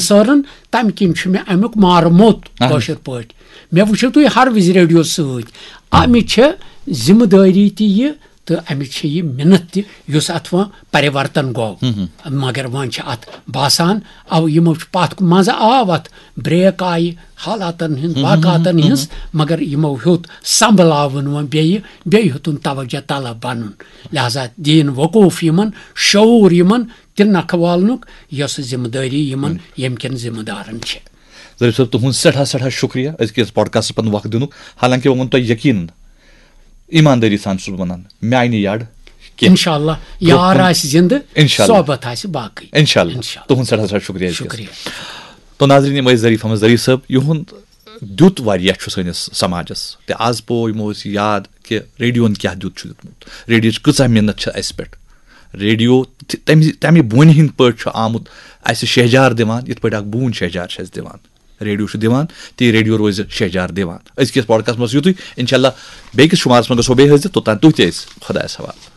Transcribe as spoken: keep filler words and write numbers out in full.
سٲرن، تَمہِ کِنۍ چھُ مےٚ اَمیُک مارٕ موٚت اہن۔ کٲشِر پٲٹھۍ۔ مےٚ وٕچھِو تُہۍ ہر وِزِ ریڈیو سۭتۍ۔ اَمِچ چھےٚ ذِمہٕ دٲری تہِ یہِ تہٕ اَمِچ چھےٚ یہِ مِنت تہِ، یُس اَتھ وۄنۍ پَرِوَرتَن گوٚو۔ مگر وۄنۍ چھِ اَتھ باسان، اَو یِمو چھُ پَتھ کُن، منٛزٕ آو اَتھ بریک آیہِ حالاتَن ہٕنٛز، واقعاتَن ہٕنٛز، مگر یِمو ہیوٚت سنبھلاوُن وۄنۍ بیٚیہِ، بیٚیہِ ہیوٚتُن توجہ طلب بَنُن۔ لہذا دِیِن وقوٗف یِمَن، شعوٗر یِمَن، تہِ نکھٕ والنُک، یۄس ذِمہٕ دٲری یِمَن، ییٚمہِ کٮ۪ن ذِمہٕ دارَن چھِ۔ ظریف صٲب، تُہُنٛد سٮ۪ٹھاہ سٮ۪ٹھاہ شُکریہ أزکِس پاڈکاسٹَس پٮ۪ٹھ وقت دِنُک۔ حالانکہِ وۄنۍ ووٚن تۄہہِ یقیٖن، ایٖماندٲری سان چھُس بہٕ وَنان، مےٚ آیہِ نہٕ یَڈ کینٛہہ۔ اِنشاء اللہ، برٛونٛہہ یار کُن۔ آسہِ زِندٕ، اِنشاء اللہ۔ صحبت آسہِ باقٕے۔ اِنشاء اللہ۔ اِنشاء اللہ۔ تُہُنٛد سٮ۪ٹھاہ سٮ۪ٹھاہ شُکریہ أزکِس۔ شُکریہ۔ تو ناظریٖن، یِم ٲسۍ ظریف احمد ظریف صٲب، یِہُنٛد دیُت واریاہ چھُ سٲنِس سماجَس۔ تہٕ آز پوو یِمو أسۍ یاد کہِ ریڈیوَن کیٛاہ دیُت چھُ دیُتمُت، ریڈیوٕچ کۭژاہ مِنت چھِ اَسہِ پٮ۪ٹھ۔ ریڈیو تہِ تَمہِ، تَمہِ بونہِ ہِنٛدۍ پٲٹھۍ چھُ آمُت اَسہِ شہجار دِوان، یِتھ پٲٹھۍ اَکھ بوٗن شہجار چھِ اَسہِ دِوان۔ ریڈیو چھُ دِوان، تی ریڈیو روزِ شہجار دِوان۔ أزکِس پاڈکاسٹَس منٛز یُتُے، اِنشاء اللہ بیٚیہِ کِس شُمارَس منٛز گژھو بیٚیہِ حٲصِل، توٚتام تُہۍ تہِ أسۍ خۄدایَس حوالہٕ۔